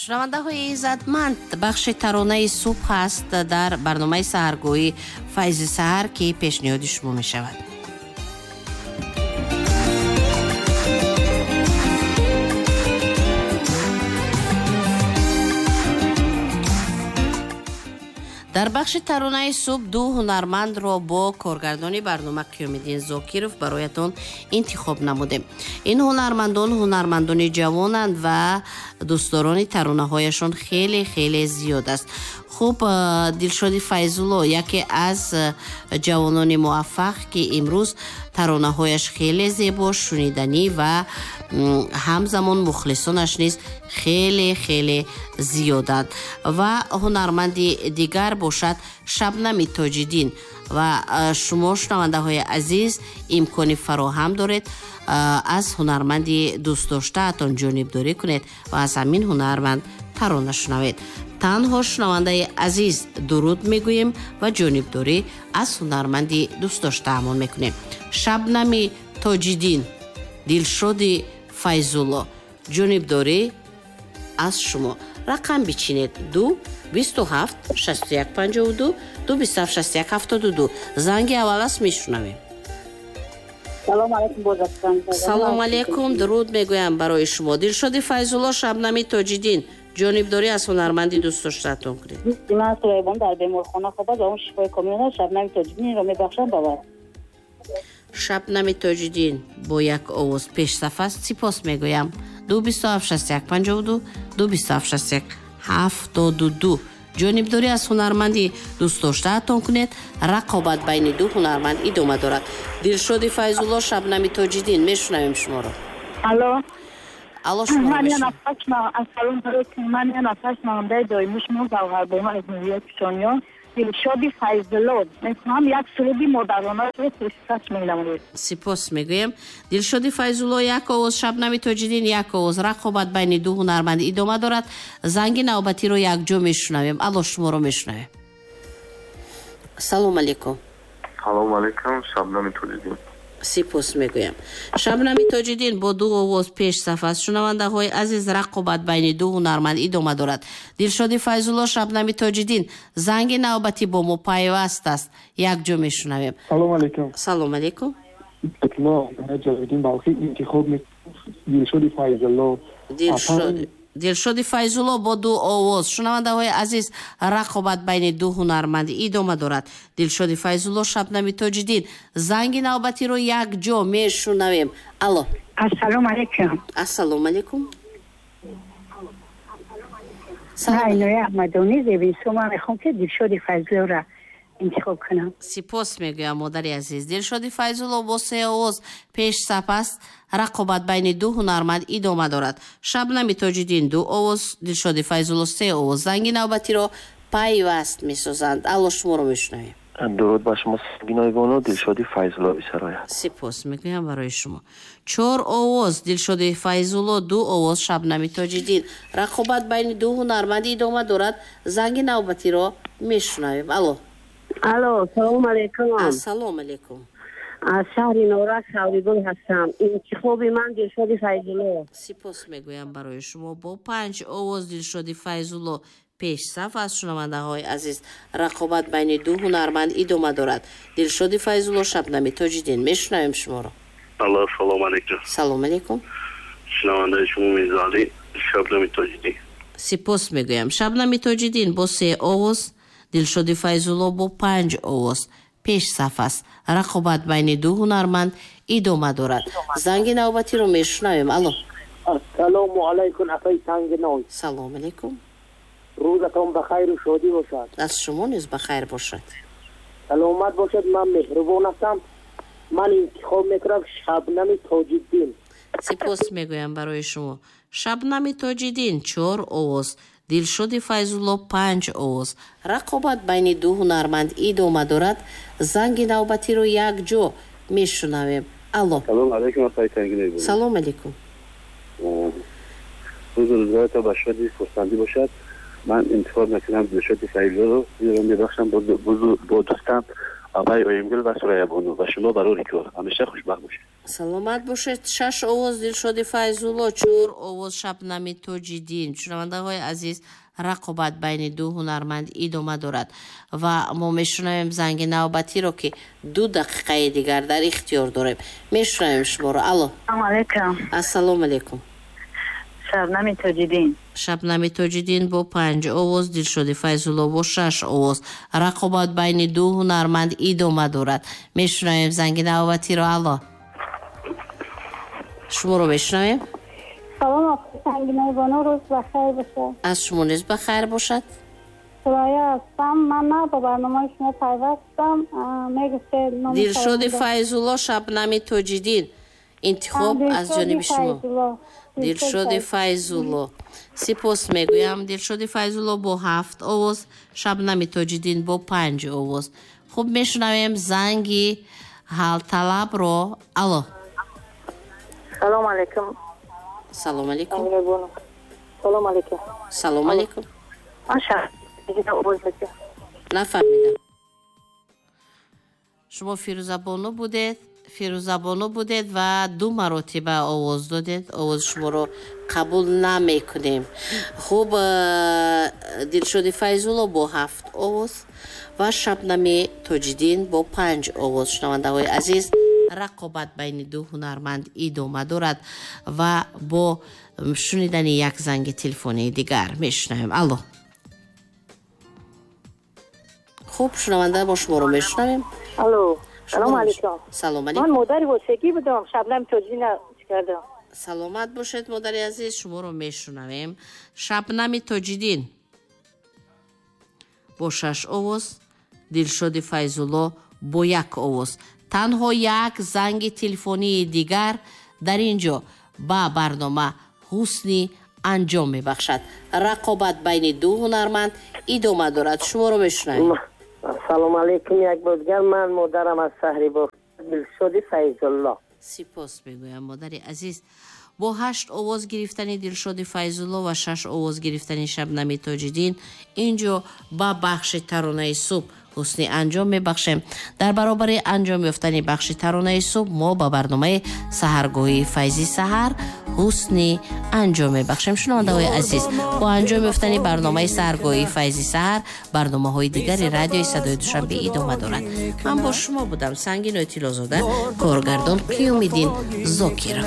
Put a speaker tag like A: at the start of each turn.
A: Шунавандаҳои иззатманд, бахши таронаи субҳ ҳаст дар барномаи саҳаргоҳӣ Файзи саҳар, ки пешниҳоди шумо мешавад. Дар бахши таронаи субҳ ду ҳунармандро бо коргардони барнома Қиёмиддин Зокиров бароятон интихоб намудем. Ин ҳунармандон ҳунармандони ҷавонанд ва дӯстдорони таронаҳояшон хеле хеле зиёд аст. Хуб, Дилшоди Файзулло яке аз ҷавонони муваффақ, ки имрӯз таронаҳояш хеле зебо, шуниданӣ ва ҳамзамон мухлисонаш низ хеле хеле зиёданд. Ва ҳунарманди дигар бошад Шабнами Тоҷиддин. Ва шумо, шунавандаҳои азиз, имкони фароҳам доред аз ҳунарманди дӯстдоштаатон ҷонибдорӣ кунед ва аз ҳамин ҳунарманд тарона шунавед. Танҳо, шунавандаи азиз, дуруд мегӯем ва ҷонибдорӣ аз ҳунарманди дӯстдоштаамон мекунем. Шабнами Тоҷиддин, Дилшоди Файзулло, ҷонибдорӣ аз шумо. Рақам бичинед: 2 27 61 52, 2 27 61 72. Занги аввал аст, мешунавем.
B: Салом алейкум, бозакан.
A: Салом алейкум, дуруд мегӯям барои шумо. Дилшоди Файзулло, Шабнами Тоҷиддин, ҷонибдорӣ аз ҳунарманди дӯстдоштаатон кунед.
B: Ман Сулаймон дар беморхона хобад ва он шифои комил надорад. Шабнами Тоҷиддинро мебахшам ба вай.
A: Шабнами Тоҷиддин бо як овоз пешсаф аст. Сипос мегӯям. 2 27 61 52, 2 27 61 72. Ҷонибдорӣ аз ҳунарманди дӯстдоштаатон кунед. Рақобат байни ду ҳунарманд идома дорад. Дилшоди Файзулло, Шабнами Тоҷиддин, мешунавем шуморо.
B: Алло.
A: Алло, шуморо мешунавем.
B: Ассалому алайкум. Ман як нафар шунавандаи доимии шумо, Завғарбону аз ноҳияи Пишониён. Дилшоди Файзулло, мехоҳам як суруди модаронаро пешкаш менамоям.
A: Сипос мегӯем. Дилшоди Файзулло як овоз, Шабнами Тоҷиддин як овоз. Рақобат байни ду ҳунарманд идома дорад. Занги навбатиро якҷо мешунавем. Алло, шуморо мешунавем. Салом алейкум.
C: Салом алейкум, Шабнами Тоҷиддин.
A: Сипос мегӯям. Шабнами Тоҷиддин бо ду овоз пешсаф аст. Шунавандаҳои азиз, рақобат байни ду ҳунарманд идома дорад. Дилшоди Файзулло, Шабнами Тоҷиддин, занги навбатӣ бо мо пайваст аст. Якҷо мешунавем.
D: Салом алейкум.
A: Салом алейкум.
D: Ҷалолиддин Балхӣ, интихоб Дилшоди Файзулло.
A: Дилшоди Файзулло бо ду овоз. Шунавандаҳои азиз, рақобат байни ду ҳунарманд идома дорад. Дилшоди Файзулло, Шабнами Тоҷиддин, занги навбатиро якҷо мешунавем. Алло.
B: Ассалому алайкум.
A: Ассалому алайкум.
B: Айноя Аҳмадонӣ, Зебисо. Ман мехоҳам, ки Дилшоди Файзуллоро интихоб кунам.
A: Сипос мегӯям, модари азиз. Дилшоди Файзулло бо се овоз пешсаф аст. Рақобат байни ду ҳунарманд идома дорад. Шабнами Тоҷиддин ду овоз, Дилшоди Файзулло се овоз. Занги навбатиро пайваст месозанд. Алло, шуморо мешунавем.
E: Дуруд ба шумо, Сангинои, Дилшоди Файзулло бисарояд.
A: Сипос мегӯям барои шумо. Чор овоз Дилшоди Файзулло, ду овоз Шабнами Тоҷиддин. Рақобат байни ду ҳунарманд идома дорад. Занги навбатиро мешунавем. Алло.
B: Алло, салом алейкум.
A: Ассалому алейкум.
B: Аз шаҳри Норак Савригул ҳастам. Интихоби ман Дилшоди Файзулло.
A: Сипос мегӯям барои шумо. Бо панҷ овоз Дилшоди Файзулло пешсаф аст. Шунавандаҳои азиз, рақобат байни ду ҳунарманд идома дорад. Дилшоди Файзулло, Шабнами Тоҷиддин, мешунавем шуморо.
C: Алло, салом алейкум.
A: Салом алейкум.
C: Шунавандаи шумо Мирзоалӣ, Шабнами Тоҷиддин.
A: Сипос мегӯям. Шабнами Тоҷиддин бо се овоз, Дилшоди Файзулло бо панҷ овоз пешсаф аст. Рақобат байни ду ҳунарманд идома дорад. Занги навбатиро мешунавем. Алло.
F: Ассалому алайкум, апаи Сангиной.
A: Салом алейкум.
F: Рӯзатон ба хайру шодӣ бошад.
A: Аз шумо низ ба хайр бошад.
F: Саломат бошед. Ман меҳрубон ҳастам. Ман интихоб мекунам Шабнами Тоҷиддин.
A: Сипос мегӯям барои шумо. Шабнами Тоҷиддин чор овоз, Дилшоди Файзулло панҷ овоз. Рақобат байни ду ҳунарманд идома дорад. Занги навбатиро якҷо мешунавем. Алло.
C: Салом алейкум, апаи Сангинои.
A: Салом алейкум.
C: Рӯзу рӯзгоратон ба шодӣ хурсандӣ бошад. Ман интихоб мекунам Дилшоди Файзуллоро, зеро мебахшам бо дӯстам Апаи Оимгул ва Сурайябону ва шумо барори кор. Ҳамеша хушбахт бошед.
A: Саломат бошед. 6 овоз Дилшоди Файзулло, 4 овоз Шабнами Тоҷиддин. Шунавандаҳои азиз, рақобат байни ду ҳунарманд идома дорад ва мо мешунавем занги навбатиро, ки 2 дақиқаи дигар дар ихтиёр дорем. Мешунавем шуморо. Алло.
B: Ассалому алайкум.
A: Ассалому алайкум.
B: Шабнами Тоҷиддин.
A: Шабнами Тоҷиддин бо 5 овоз, Дилшоди Файзулло бо 6 овоз. Рақобат байни ду ҳунарманд идома дорад. Мешунавем занги навбатиро. Алло. Шуморо мешунавем.
B: Салом, Сангинои бону, рӯз бахайр бошад.
A: Аз шумо низ бахайр бошад.
B: Сурайя ҳастам. Ман на ба барномаи шумо пайвастам. Мегуфтед номи
A: Дилшоди Файзулло, Шабнами Тоҷиддин. Интихоб аз ҷониби шумо. Дилшоди Файзулло. Сипос мегӯям. Дилшоди Файзулло бо 7 овоз, Шабнами Тоҷиддин бо 5 овоз. Хуб, мешунавем занги ҳалталабро. Алло.
B: Салом алейкум.
A: Салом алейкум.
B: Салом алейкум.
A: Салом алейкум.
B: Маша.
A: Нафаҳмидам. Шумо Фирӯзабону будед? Фирӯзабону будед ва 2 маротиба овоз додед. Овози шуморо қабул намекунем. Хуб, Дилшоди Файзулло бо 7 овоз ва Шабнами Тоҷиддин бо 5 овоз. Шунавандаҳои азиз, рақобат байни ду ҳунарманд идома дорад ва бо шунидани як занги телефонии дигар мешунавем. Алло. Хуб, шунаванда, мо шуморо мешунавем.
B: Алло. Салом алейкум.
A: Салом алейкум.
B: Ман модари восегӣ будам, Шабнами Тоҷиддин кардам.
A: Саломат бошед, модари азиз, шуморо мешунавем. Шабнами Тоҷиддин бо 6 овоз, Дилшоди Файзулло бо 1 овоз. Танҳо як занги телефонии дигар дар ин ҷо ба барнома ҳусни анҷом мебахшад. Рақобат байни ду ҳунарманд идома дорад. Шуморо мешунавем.
F: Ассалому алайкум. Як бор дигар ман модарам аз шаҳри Бохтар, Дилшоди Файзулло.
A: Сипос мегӯям, модари азиз. Бо 8 овоз гирифтани Дилшоди Файзулло ва 6 овоз гирифтани Шабнами Тоҷиддин ин ҷо ба бахши таронаи субҳ ҳусни анҷом мебахшем. Дар баробари анҷом ёфтани бахши таронаи субҳ мо ба барномаи саҳаргоҳии Файзи саҳар ҳусни анҷом мебахшем. Шунавандаҳои азиз, бо анҷом ёфтани барномаи саҳаргоҳии Файзи саҳар барномаҳои дигари радиои Садои Душанбе идома дорад. Ман бо шумо будам, Сангинои Тиллозода, коргардон Қиёмиддин Зокиров.